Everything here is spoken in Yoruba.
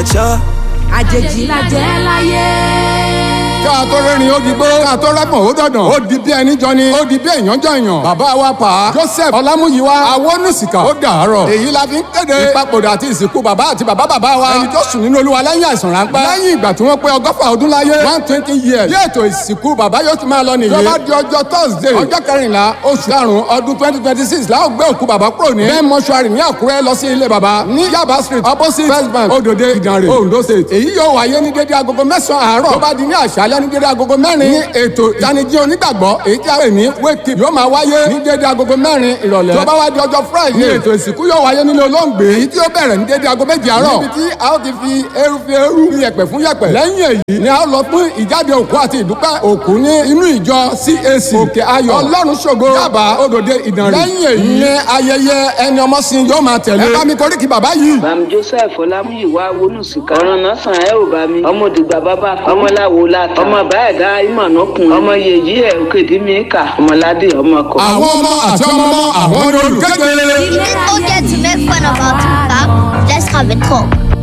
Mature. Àjèjì la jẹ́ láyé. Ká tó rẹ́rìn ó di gbó, ká tó rẹ́pọ̀n ó dọ̀dàn, ó di bí ẹni jọni, ó di bí èèyàn jọyàn. Bàbá wa pa Joseph Ọlámúyíwá Awónúsìkà, ó dàárọ̀. Èyí la fi ń kéde ìpapòdà àti ìsìnkú bàbá àti bàbá bàbá wa, ẹni tó sùn nínú Olúwa lẹ́yìn àìsàn ráńpẹ́, lẹ́yìn ìgbà tí wọ́n pé 120 ọdún láyé, 120 years. Bí ètò ìsìnkú bàbá yóò ti máa lọ nìyí. Tó bá di ọjọ́ Thursday, ọjọ́ 14 oṣù karùn-ún ọdún 2026, la ó gbé òkú bàbá kúrò ní main mortuary ní Àkúrẹ́ lọ sí ilé bàbá ní Yaba Street, opposite First Bank, Odòde, Ìdànrè, Ondo State. Èyí yóò wáyé ní dédé agogo 9 àárọ̀. Tó bá di ní àṣálẹ́, ní dédé agogo 4, ní ètò ìtanijí onígbàgbọ́, èyí tí a pè ní wake up, yóò máa wáyé ní dédé agogo 4 ìrọ̀lẹ́. Tó bá wá di ọjọ́ Friday, ní ètò ìsìnkú yóò wáyé nílé olóògbé, èyí tí ó bẹ̀rẹ̀ ní dédé aago 7 àárọ̀, níbi tí a ó ti fi eru fi eru, yẹ̀pẹ̀ fún yẹ̀pẹ̀. Lẹ́yìn èyí ni a ó lọ fún ìjáde òkú àti ìdúpẹ́ òkú ní inú ìjọ CAC Òkè Ayọ̀ Ọlọ́run Ṣògo, Yaba, Odòde, Ìdànrè. Lẹ́yìn èyí ni ayẹyẹ ẹni ọmọ sin yóò máa tẹ̀lé. Ẹ bá mi koríki bàbá yìí. Bàm Joseph Ọlámúyíwá Awónúsìkà. Ọ̀ràn náà sàn ẹ́ ò bá mi. Ọmọ òdìgbà bàbá kan. Ọmọláwo láta. Ọmọ báyẹ̀dá ìmọ̀nàkùn. Ọmọ yèyí ẹ̀ òkèdí mi kà. Ọmọládé ọmọ kọ. Àwọn ọmọ àti ọmọ ọmọ àwọn olùkéde. Is it okay to make fun of our two? Let's have a talk.